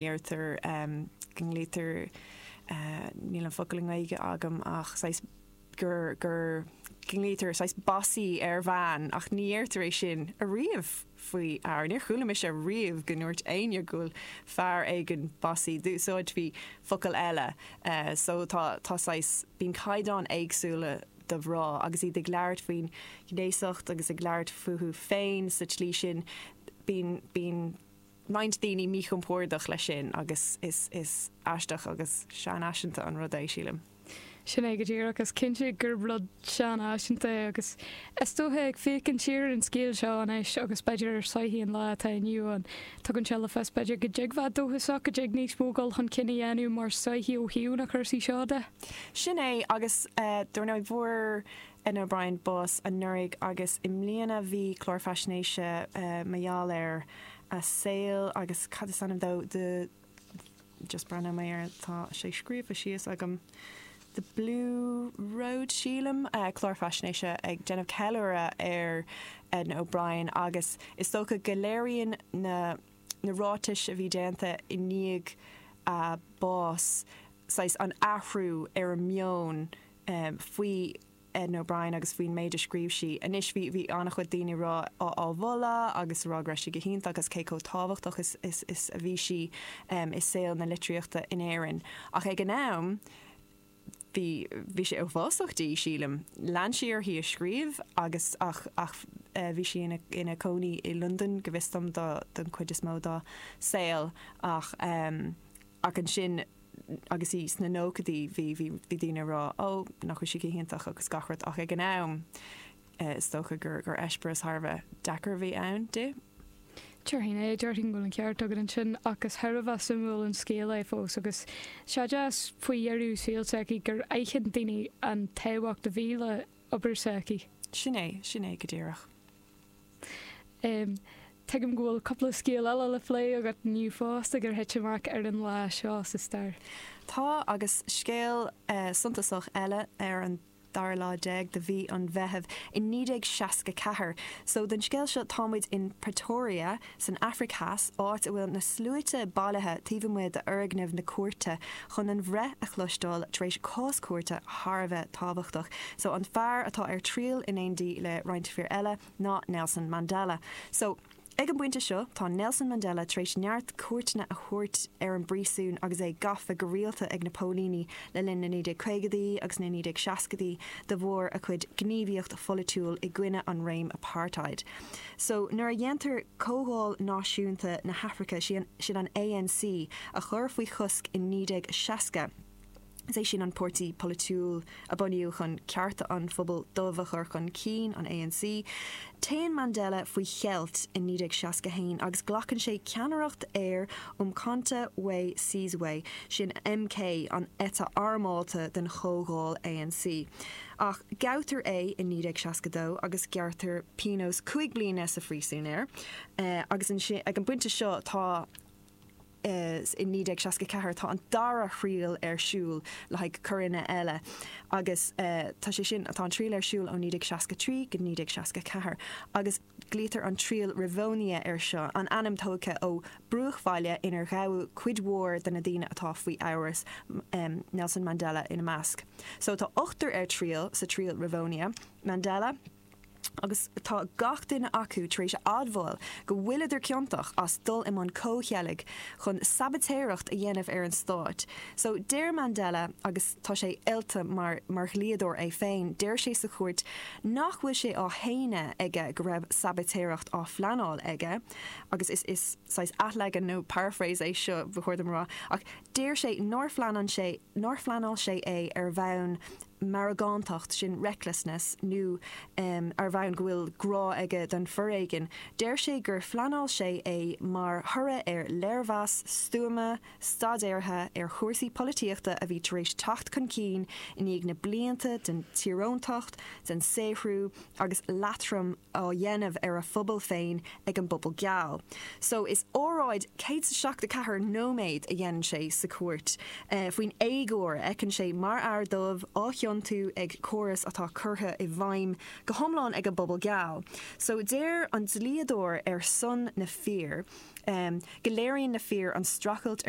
Deirtear go nglaoitear, níl an focal i nGaeilge agam ach saghas gur, gur, go nglaoitear saghas bossy ar bhean ach ní dheirtear é sin ariamh faoi fhear. Níor chuala mise riamh go ndúirt éinne go bhfuil fear éigin bossy. D'úsáidfí focal eile. So tá, tá saghas, bíonn caighdeáin éagsúla do mhná agus iad ag labhairt faoin ghnéasacht agus ag labhairt fúthu féin sa tslí sin. Bíonn, bíonn. roinnt daoine míchompordach leis sin agus is is aisteach agus seanfhaiseanta an rud é, sílim. Sin é go díreach. Is cinnte gur rud seanfhaiseanta é agus is dócha ag féachaint siar ar an scéal seo anois agus b'fhéidir ar sochaí an lá atá inniu ann, tugann sé le fios b'fhéidir go dtig bheith dóchasach, go dtig níos mó dul chun cinn a dhéanamh mar sochaí ó thaobh na cúrsaí seo de. Sin é agus dar ndóigh fuair Edna O'Brien bás anuraidh agus i mbliana bhí clár faisnéise mar gheall ar a saol agus cad is ainm dó the just breathnóidh mé air tá sé scríofa síos agam The Blue Road sílim clár faisnéise ag déanamh ceiliúradh ar Edna O'Brien agus is dócha go léiríonn na na ráitis a bhí déanta i ndiaidh a bás saghas an athrú ar an meon faoi Edna O'Brien agus faoin méid a scríobh sí. Anois bhí bhí an-chuid daoine ag rá á á mholadh agus ag rá go raibh sí go hiontach agus cé chomh tábhachtach is is is a bhí sí i saol na litríochta in Éirinn. Ach ag an am bhí bhí sé uafásach di, sílim. Lean sí uirthi ag scríobh agus ach ach bhí sí ina ina cónaí i Londain go bhfios dom do don chuid is mó dá saol ach ach ansin agus í sna nóchaidí bhí, bhí, bhí daoine ag rá ó, nach bhfuil sí go hiontach agus gach rud ach ag an am is dócha gur, gur eispéireas thar a bheith deacair a bhí ann di. Déarfainn é, déarfainn go bhfuil an ceart agat ansin ach is thar a bheith suimiúil an scéal é fós agus sé deas faoi dheireadh saoil s'aici gur aithin daoine an tábhacht a bhí le obair s'aici. Sin é, sin é go díreach. Tuigim go bhfuil cúpla scéal eile le plé agat inniu fosta gur thit amach ar an lá seo sa stair. Tá, agus scéal suntasach eile ar an dara lá déag de mhí an Mheithimh i 1964. So, don scéal seo tá muid in Pretoria san Afraic Theas, áit a bhfuil na sluaite bailithe taobh amuigh d'fhoirgneamh na cúirte chun an bhreith a chloisteáil tar éis cás cúirte thar a bheith tábhachtach. So, an fear atá ar triail in éindí le roinnt fir eile ná Nelson Mandela. So, ag an bpointe seo, tá Nelson Mandela tar éis neart cuairteanna a thabhairt ar an bpríosún agus é gafa go rialta ag na póilíní le linn na 1950idí agus na 1960idí de bharr a chuid gníomhaíocht pholaitiúil i gcoinne an réim apartheid. So, nuair a dhéantar Comhdháil Náisiúnta na hAfraice, sin an ANC, a chur faoi chosc in 1960, is é sin an páirtí polaitiúil a bunaíodh chun cearta an phobail dubh a chur chun cinn, an ANC, téann Mandela faoi cheilt in 1961 agus glacann sé ceannaireacht ar Umkhonto we Sizwe, sin MK, an eite armálta den Chomhdháil ANC. Ach gabhtar é i 1962 agus gearrtar pionós 5 bliana sa phríosún air agus ansin, ag an bpointe seo tá, i 1964 tá an dara thriail ar siúl le haghaidh coireanna eile agus tá sé sin, tá an triail ar siúl ó 1963 go 1964 agus glaoitear an triail Rivonia air seo, an ainm tógtha ó bruachbhaile inar gabhadh cuid mhór de na daoine atá faoi amhras, Nelson Mandela ina measc. So tá ochtar ar triail sa triail Rivonia, Mandela, agus tá gach duine acu tar éis a admháil go bhfuileadar ciontach as dul i mbun comhcheilg chun sabaitéireacht a dhéanamh ar an stát. So deir Mandela, agus tá sé oilte mar mar dhlíodóir é féin, deir sé sa chúirt nach bhfuil sé á shéanadh aige go raibh sabaitéireacht á phleanáil aige, agus is is saghas athleagan nó paraphrase é seo, ba chóir dom a rá, ach deir sé nár phleanáil sé nár phleanáil sé é ar bhonn meargántacht, sin recklessness, nó ar bhonn go bhfuil grá aige don foréigean. Deir sé gur phleanáil sé é mar thoradh ar léirmheas stuama, staidéartha ar chúrsaí polaitíochta a bhí tar éis teacht chun cinn i ndiaidh na blianta den tíoróntacht, den saothrú agus leatrom á dhéanamh ar a phobal féin ag an bpobal geal. So is óráid 174 nóiméad a dhéanann sé sa chúirt faoin éagóir a fheiceann sé mar fhear dubh á chiontú. chiontú ag córas atá curtha i bhfeidhm go hiomlán ag an bpobal geal. So deir an dlíodóir ar son na fir go léiríonn na fir an streachailt ar.